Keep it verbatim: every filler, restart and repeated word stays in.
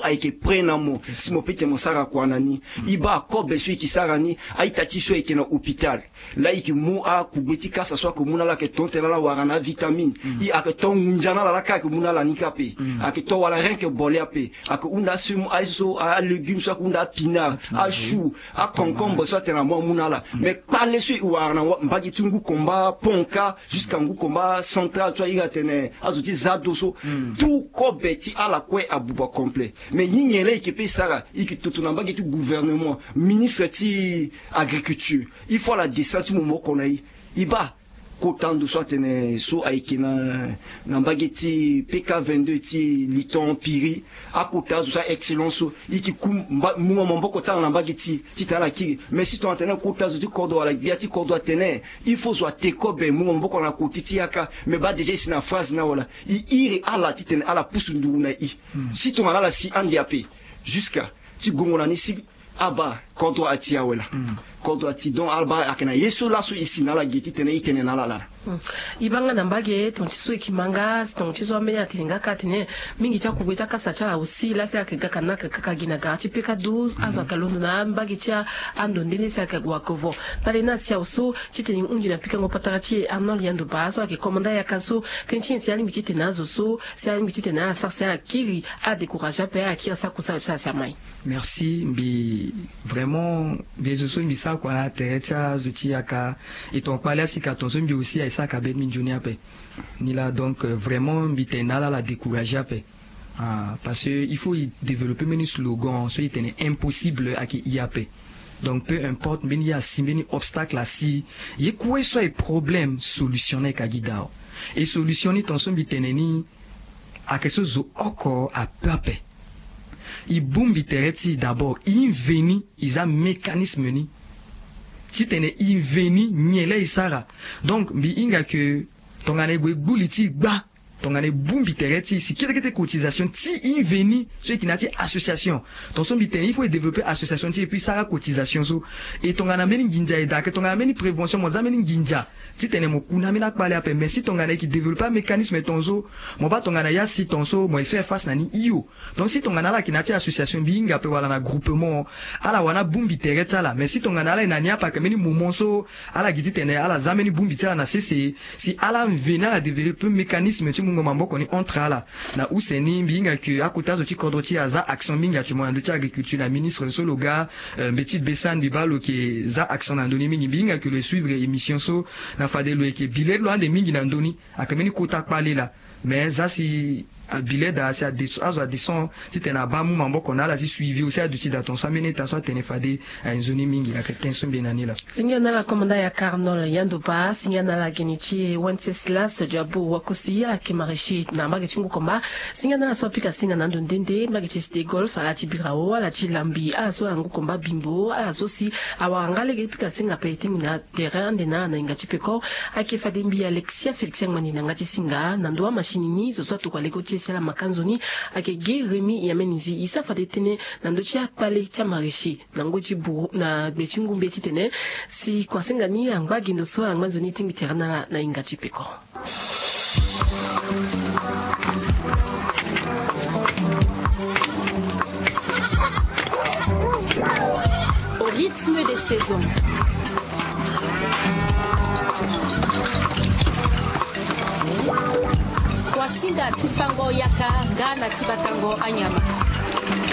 Ayeke prêt na mo si mo peut tene mo sara kua na ni. I baa kobe so i yeke sara ni, a-ita ti so ayeke na hôpital. Laa i yeke mu akugbe ti kasa so ayeke mu na ala ayeke tonte na ala wara na avitamine. I ayeke to ngunza na ala laa kâ ayeke mu na ala ni kâ ape. Ayeke to wala rien que bole ape. Ayeke hunda asemu aye so, alégume so ayeke hunda apinard, achou, aconcombre so atene amu amu na ala. Mais kpale so e wara na mbage ti ngu komba Ponka jusqu'à ngu komba central so a iri atene azo ti Zado so, tout kobe ti ala kue abuba complet. Mais ye nyen laa e yeke pe sara? E yeke toto na mbage ti gouvernement, ministre ti agriculture, il faut ala descend ti mu maboko na e. E baa kota ndo so atene so ayeke na, na mbage ti P K vingt-deux ti Liton Piri, akota azo so a-excellence so, e yeke ku mba, mu maboko ti ala na mbage ti, titene ala kiri. Mais si tongana tene kota azo ti kodro wala gbia ti kodro atene il faut zo ate kobe mu maboko na koti ti yaka. Mais baa déjà e si na phrase ni awe laa, e iri ala titene ala pusu nduru na e. Si tongana ala si ande ape, jusqu'à ti gongo na ni si abaa kodro ati awe laa. Kodro ati, donc abaa ayeke na ye so laso e si na ala ge titene e tene na ala laa. E baa nga na mbage tonga ti so e yeke ma nga, tonga ti so ambeni atene nga kâ atene mingi ti akugbe ti akasa ti ala aussi laa si ayeke gaka na ayeke kaka gi na gara ti P K douze, azo ayeke londo na mbage ti ando nde nde si ayeke gue ake vo. Kpale ni asi awe so titene e hunzi na pikango patara ti e Arnold Yando Ba so ayeke commandant yaka so, tënë ti nyen si alingbi titene azo so, si alingbi titene ala sara si ala kiri, ala décourager ape, ala kiri, ala sara kusala ti ala si amai. Merci. Mbi vraiment, mbi zo so mbi sara kua na tere ti azo ti yaka. E tonga kpale asika tonga so mbi aussi aye sara ka be ti mbi nzoni ape. Ni laa donc, euh, vraiment mbi tene na ala ala décourager ape. Ah, parce que il faut e développer mbeni slogan so e tene impossible ayeke e ape. Donc peu importe mbeni ye asi, mbeni obstacle asi, ye kue so aye problème, solution ni ayeke gi dao. E solution ni tonga so mbi tene ni ayeke so zo oko ape ape. E bongbi tere ti e d'abord, e veni, e za mécanisme ni titene e veni nyen laa e sara. Donc mbi hinga ke tongana e gue gbu li ti e gba, tongana e bongbi tere ti e si kete kete cotisation ti e veni so e yeke na ya ti association. Tonga so mbi tene il faut e développer association ti e, et puis sara cotisation so. E tongana mbeni nginza e daa, ayeke tongana mbeni prévention, mo za mbeni nginza titene mo ku na ambeni akpale ape. Mais si tongana e yeke développer amécanisme tonga so, mo baa tongana ye asi tonga so mo yeke faire face na ni hio. Donc si tongana ala yeke na ya ti association, mbi hinga ape, wala na groupement, ala wani abongbi tere ti ala. Mais si tongana ala yeke na ni ape, ayeke mbeni moment so ala gi titene ala za mbeni bongbi ti ala na sese, si ala veni ala développer mécanisme ti mungo maboko ni entre ala. Na use ni mbi hinga ke akota azo ti kodro ti e aza action mingi actuellement na ndö ti agriculture, na ministre so lo ga, euh, mbeti Bessane, mbi baa lo yeke za action na ndö ni mingi. Mbi hinga ke lo ye suivre émission so, na fade lo yeke bi le ti lo ande mingi na ndö ni. Ayeke mbeni kota kpale laa. Mais za si abi le daa si ade so, azo ade so titene abaa amu maboko na ala ti suivi aussi aduti daa tonga so ambeni état so atene fade aye nzoni mingi. Ayeke tënë so mbi ye na ni laa. Singa na ala commandant yaka Arnold Yando Ba, singa na ala geni ti Wenceslas Diabo Wakosi, ala yeke maraîcher na mbage ti Ngu Komba. Singa na ala so apika singa na ando nde nde, mbage ti Cité Golf, ala ti Birao, ala ti Lambi, ala so ala Ngu Komba Bimbo, ala so si awara nga lege pika singa ape, e tingbi na tere ande na ala na hinga ti peko. Ayeke fade mbi Alexia Félix Angmani na yanga ti singa na ndo amachine ni, zo so atokua leko ti e si ala maka nzoni. Ayeke ge Rémy Yameni Zi, e sara fade tënë na ndö ti akpale ti amaraîcher na ngoi ti buru na gbe ti ngumbe titene si kuasinga ni angba gi ndo so ala ngba nzoni, e tingbi tere na ala na hinga ti peko. Au rythme des saisons. Kuasinga ti fango yaka nga na ti batango anyama.